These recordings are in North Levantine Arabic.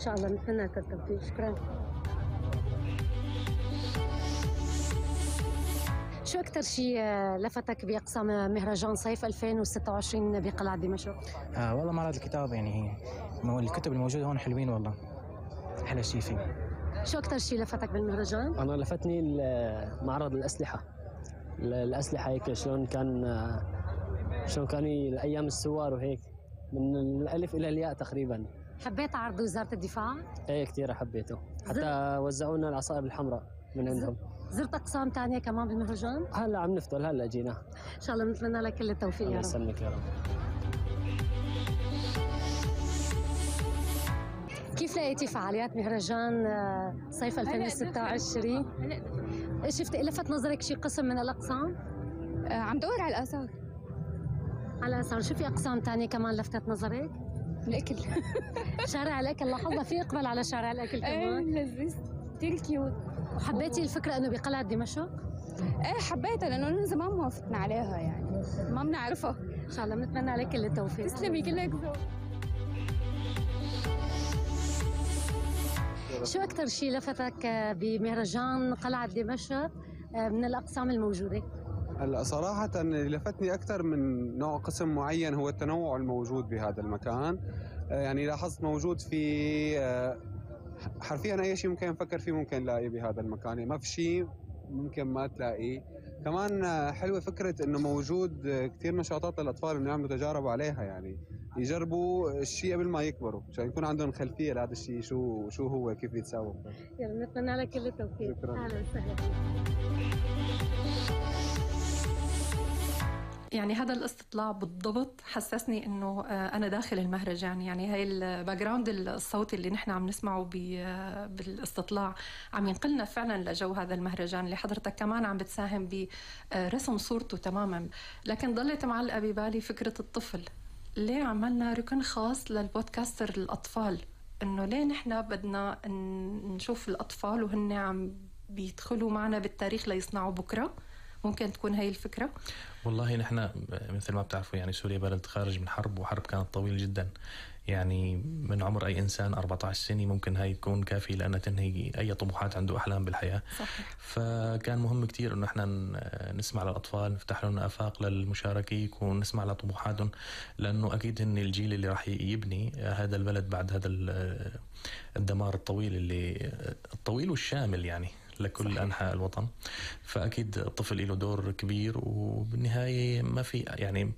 شاء الله نتمنى لك التوفيق. شكرا. شو أكتر شيء لفتك بأقسام مهرجان صيف 2026 بقلعة دمشق؟ والله معرض الكتاب، يعني الكتب الموجودة هون حلوين والله، أحلى شيء فيه. شو أكتر شيء لفتك بالمهرجان؟ أنا لفتني معرض الأسلحة هيك شلون كان أيام السوار وهيك من الألف إلى الياء تقريبا. حبيت عرض وزارة الدفاع؟ ايه كتير حبيته، حتى وزعونا العصائب الحمراء من عندهم. زرت أقسام تانية كمان بالمهرجان؟ هلا عم نفضل، هلا جينا. إن شاء الله بنتمنى لك كل التوفيق يا رب. الله يسلمك يا رب. كيف لقيتي فعاليات مهرجان صيف 2026؟ شفتي لفت نظرك شي قسم من الأقسام؟ عم دور على الآثار. على الآثار. شو في أقسام تانية كمان لفتت نظرك؟ الأكل. شارع الأكل، لاحظنا في إقبال على شارع الأكل كمان. لذيذ كتير كيوت. وحبيتي الفكرة إنه بقلعة دمشق؟ ايه حبيتها لأنه من زمان ما وافقنا عليها، يعني ما بنعرفها. إن شاء الله بنتمنى لك كل التوفيق. تسلمي، كلك ذوق. شو أكتر شيء لفتك بمهرجان قلعة دمشق من الأقسام الموجودة؟ هلا صراحة اللي لفتني أكثر من نوع قسم معين هو التنوع الموجود بهذا المكان. يعني لاحظت موجود في حرفيا أي شيء ممكن نفكر فيه ممكن نلاقيه بهذا المكان، يعني ما في شيء ممكن ما تلاقيه. كمان حلوة فكرة إنه موجود كثير نشاطات للأطفال إنه يعملوا تجارب عليها، يعني يجربوا الشيء قبل ما يكبروا عشان يكون عندهم خلفية لهذا الشيء شو هو كيف يتساوى. يلا نتمنى لك كل التوفيق. شكرا. أهلا وسهلا. يعني هذا الاستطلاع بالضبط حسسني انه انا داخل المهرجان. يعني هاي الباك جراوند الصوتي اللي نحن عم نسمعه بالاستطلاع عم ينقلنا فعلا لجو هذا المهرجان اللي حضرتك كمان عم بتساهم برسم صورته تماما. لكن ضلت معلقه ببالي فكره الطفل. ليه عملنا ركن خاص للبودكاستر الاطفال؟ انه ليه نحن بدنا نشوف الاطفال وهن عم بيدخلوا معنا بالتاريخ ليصنعوا بكره؟ ممكن تكون هاي الفكرة؟ والله نحن مثل ما بتعرفوا يعني سوريا بلد خارج من حرب، وحرب كانت طويلة جدا، يعني من عمر أي إنسان 14 سنة ممكن هاي تكون كافية لأنها تنهي أي طموحات عنده أحلام بالحياة. صحيح. فكان مهم كتير إنه إحنا نسمع للأطفال، نفتح لهم آفاق للمشاركة، يكون نسمع لطموحاتهم، لأنه أكيد هن الجيل اللي راح يبني هذا البلد بعد هذا الدمار الطويل والشامل يعني لكل صحيح. أنحاء الوطن. فأكيد الطفل له دور كبير، وبالنهاية ما في يعني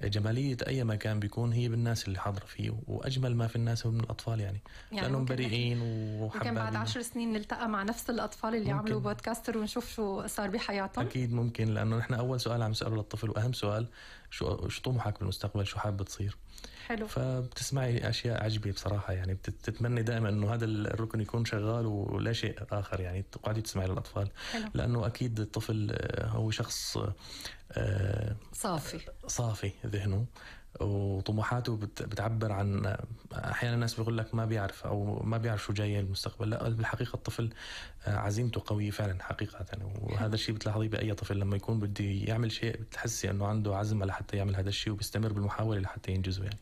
جمالية أي مكان بيكون هي بالناس اللي حاضرة فيه، وأجمل ما في الناس من الأطفال يعني لأنهم بريئين وحبابين. ممكن بعد 10 سنين نلتقى مع نفس الأطفال اللي عملوا بودكاستر ونشوف شو صار بحياتهم. أكيد ممكن، لأنه نحن أول سؤال عم نسأله للطفل وأهم سؤال شو طموحك بالمستقبل، شو حابب تصير. حلو. فبتسمعي أشياء عجيبة بصراحة، يعني بتتمنى دائما أنه هذا الركن يكون شغال ولا شيء آخر، يعني تقعدي تسمعي للأطفال. حلو. لأنه أكيد الطفل هو شخص صافي ذهنه وطموحاته بتعبر عن، أحيانا الناس بيقول لك ما بيعرف أو ما بيعرف شو جاي المستقبل. لا، بالحقيقة الطفل عزيمته قوية فعلا حقيقة، وهذا الشيء بتلاحظيه بأي طفل لما يكون بده يعمل شيء بتحسي أنه عنده عزم لحتى يعمل هذا الشيء وبيستمر بالمحاولة لحتى ينجزه يعني.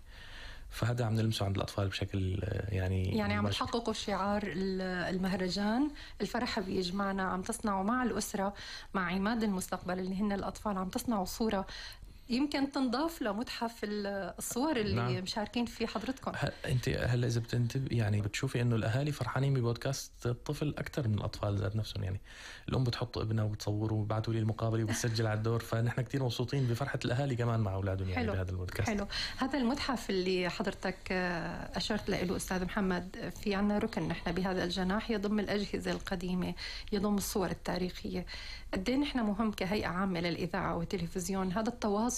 فهذا عم نلمسه عند الأطفال بشكل يعني عم تحققوا شعار المهرجان، الفرح بيجمعنا، عم تصنعوا مع الأسرة، مع عماد المستقبل اللي هن الأطفال، عم تصنعوا صورة يمكن تنضاف لمتحف الصور اللي نعم. مشاركين فيه حضرتكم. انت هلا اذا بتنتبه يعني بتشوفي انه الاهالي فرحانين ببودكاست الطفل اكثر من الاطفال ذات نفسهم. يعني الام بتحط ابنها وبتصوره وبعثوا لي المقابله وبتسجل على الدور، فنحن كتير مبسوطين بفرحه الاهالي كمان مع اولادهم يعني بهذا البودكاست. حلو. هذا المتحف اللي حضرتك اشرت له استاذ محمد، في عنا ركن نحن بهذا الجناح يضم الاجهزه القديمه، يضم الصور التاريخيه. قد ايه نحن مهم كهيئه عامه للاذاعه والتلفزيون هذا التواصل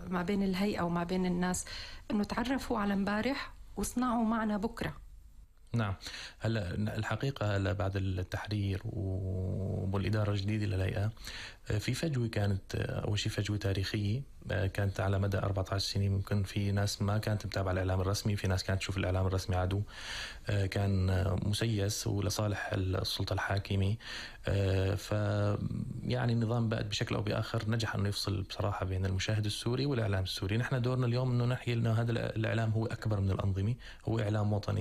ما بين الهيئة وما بين الناس، انه تعرفوا على امبارح وصنعوا معنا بكرة. نعم. هلا الحقيقة هلا بعد التحرير والإدارة الجديدة للهيئة في فجوة، كانت أول شيء فجوة تاريخية كانت على مدى 14 سنة. ممكن في ناس ما كانت متابعة الإعلام الرسمي، في ناس كانت تشوف الإعلام الرسمي عدو، كان مسيس ولصالح السلطة الحاكمة. فيعني النظام بقى بشكل أو بآخر نجح أنه يفصل بصراحة بين المشاهد السوري والإعلام السوري. نحن دورنا اليوم أنه نحكي أنه هذا الإعلام هو أكبر من الأنظمة، هو إعلام وطني